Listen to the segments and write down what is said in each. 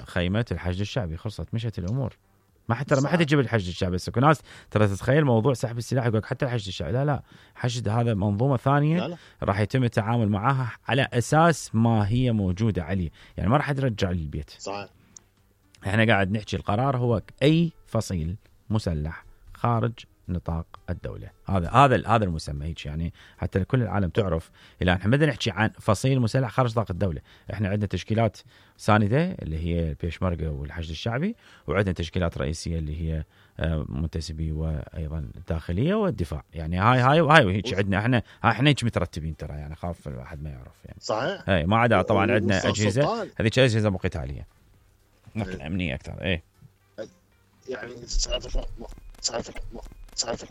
خيمة الحشد الشعبي خلصت مشت الأمور. ما حد يجيب الحشد الشعبي. بس ناس ترى تتخيل موضوع سحب السلاح يقول حتى الحشد الشعبي. لا حشد هذا منظومة ثانية. لا. راح يتم التعامل معها على أساس ما هي موجودة عليه. يعني ما راح ترجع للبيت. صحيح. احنا قاعد نحكي القرار هو أي فصيل مسلح خارج نطاق الدولة. هذا المسمى هيك يعني حتى كل العالم تعرف. إلا احنا بدنا نحكي عن فصيل مسلح خارج نطاق الدولة. احنا عندنا تشكيلات ساندة اللي هي البيشمركة والحشد الشعبي، وعندنا تشكيلات رئيسية اللي هي منتسبي وأيضا الداخلية والدفاع. يعني هاي وهيك عندنا احنا هيك مترتبين ترى. يعني خاف الواحد ما يعرف يعني. صحيح. هاي ما عدا طبعا عندنا أجهزة، هذيك أجهزة مو قتالية نقل أمنية أكثر. يعني صار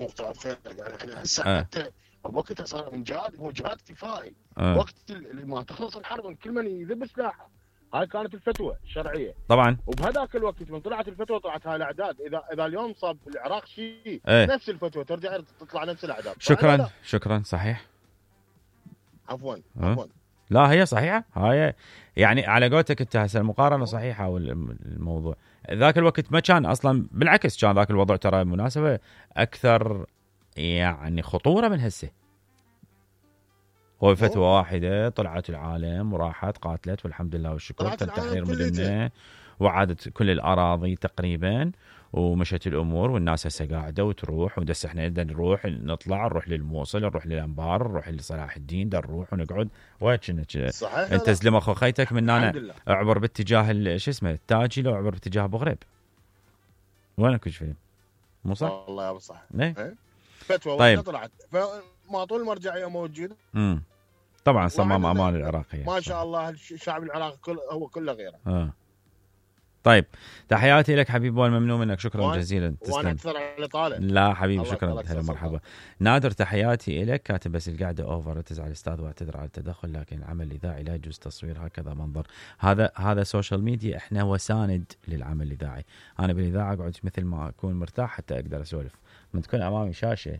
مختلف خير. يعني هسه حتى وقتها صار مجهاد كفائي. وقت اللي ما تخلص الحرب كل من يذب سلاحه. هاي كانت الفتوى الشرعيه طبعا. وبهذاك الوقت من طلعت الفتوى طلعت هاي الاعداد. اذا اليوم صاب العراق شيء نفس الفتوى ترجع تطلع نفس الاعداد. شكرا صحيح. عفوا لا هي صحيحه. هاي يعني على قولتك انت هسه المقارنه صحيحه. والموضوع ذاك الوقت ما كان اصلا، بالعكس كان ذاك الوضع ترى مناسبه اكثر يعني خطوره من هسه. هو فتوى واحده طلعت العالم وراحت قاتلت والحمد لله والشكر تم تحرير مدننا وعادت كل الاراضي تقريبا ومشت الامور. والناس هسه قاعده وتروح ودس احنا بدنا نروح للموصل، نروح للانبار، نروح لصلاح الدين، نروح ونقعد وين انت زلمه اخو خيتك من هنا اعبر باتجاه شو اسمه التاجي لو اعبر باتجاه ابو غريب. وينك وش فيلم مو صح؟ والله يا ابو صح. فتوى طيب. طلعت فما طول المرجعيه موجوده. طبعا صمام امان العراقيه ما شاء الله. الشعب العراقي هو كله غيره. طيب تحياتي لك حبيبي والممنون منك. شكرا جزيلا. تسلم. وانا اكثر على طالع. لا حبيبي شكرا. هلا مرحبا. نادر تحياتي لك. كاتب بس القعده اوفر تزعل الاستاذ واعتذر على التدخل، لكن العمل الاذاعي لا يجوز تصوير هكذا منظر. هذا سوشيال ميديا. احنا وساند للعمل الاذاعي. انا بالاذاعه اقعد مثل ما اكون مرتاح حتى اقدر اسولف. من تكون امامي شاشه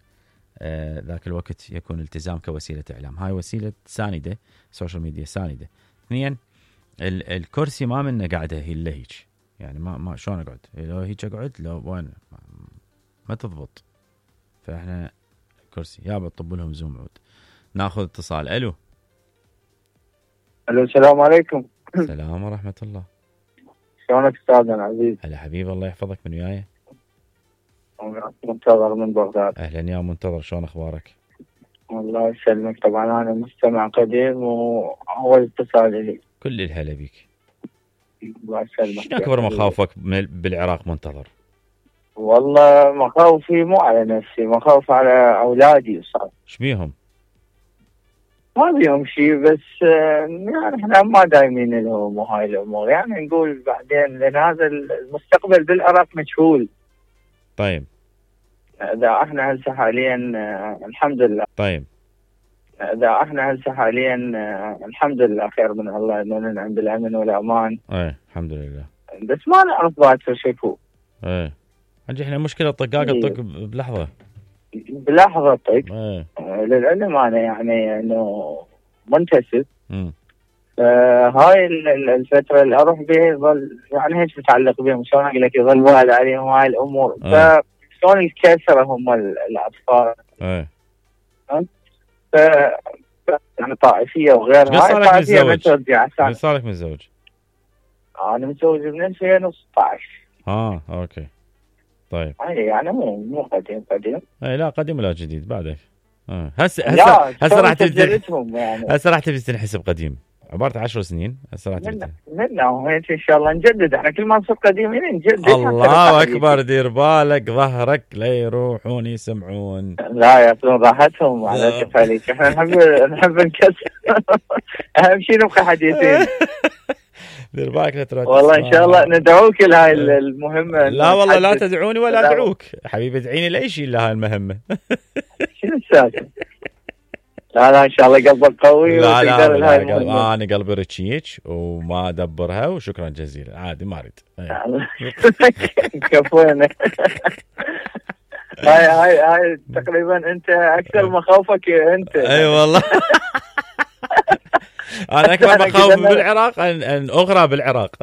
ذاك الوقت يكون التزام كوسيله اعلام. هاي وسيله سانده، سوشيال ميديا سانده. اثنين الكرسي ما منه قاعده هي اللي هيك يعني ما شلون اقعد لو هيك اقعد لو وين ما تضبط. فاحنا كرسي يا بطب لهم زوم عود. ناخذ اتصال. الو السلام عليكم. السلام ورحمه الله. شلونك استاذنا العزيز؟ هلا حبيبي الله يحفظك. من وياي؟ منتظر من بغداد. اهلا يا منتظر، شلون اخبارك؟ الله يسلمك. طبعا انا مستمع قديم واول اتصال لي. كل الهلا بيك. الله يسلمك. شنو اكبر مخاوفك بالعراق منتظر؟ والله مخاوفي مو على نفسي، مخاوف على اولادي. صار ايش بيهم؟ ما بيهم شيء بس يعني احنا ما دايمين لهم وهاي الامور. يعني نقول بعدين لان هذا المستقبل بالعراق مجهول. طيب اذا احنا هسه حاليا الحمد لله. طيب اذا احنا هسه حاليا الحمد لله خير من الله انه ننعم بالامن والامان. الحمد لله. بس ما نعرف باكر شكو. عندي احنا مشكله طقاق الطق بلحظه طق. للعلم انا يعني انه منتسب. هاي الفتره اللي اروح بها يظل يعني هيك متعلق بهم. شلون اقول لك يظل والد عليهم هاي الامور. فشلون الكسره هم الاطفال. يعني طائفيه وغيرها. هاي طائفيه ما ترجع. صار لك متزوج؟ انا متزوج من 2016. اوكي طيب. يعني مو قديم. لا قديم ولا جديد بعدك. هسه راح تبي تنحسب قديم. عبارة 10 سنين. هسه راح تبي هيك ان شاء الله نجدد. احنا كل ما نصير قديمين نجدد. الله اكبر. دير بالك ظهرك لا يروحون يسمعون. لا ياخذون راحتهم على كفاليك. احنا نحب نكسر. اهم شيء نبقى حديثين. دير بالك لا تروح. والله ان شاء الله ندعوك لهاي المهمه. لا والله لا تدعوني ولا ادعوك حبيبي. ادعيني لاي شيء لهاي المهمه. شنو السالفه؟ لا ان شاء الله قلبك قوي. لا انا قلبي رتشيك وما ادبرها. وشكرا جزيلا. عادي ما اريد. كفونا. هاي تقريبا انت اكثر مخاوفك انت. اي والله. انا اكبر مخاوف بالعراق ان اغرى بالعراق.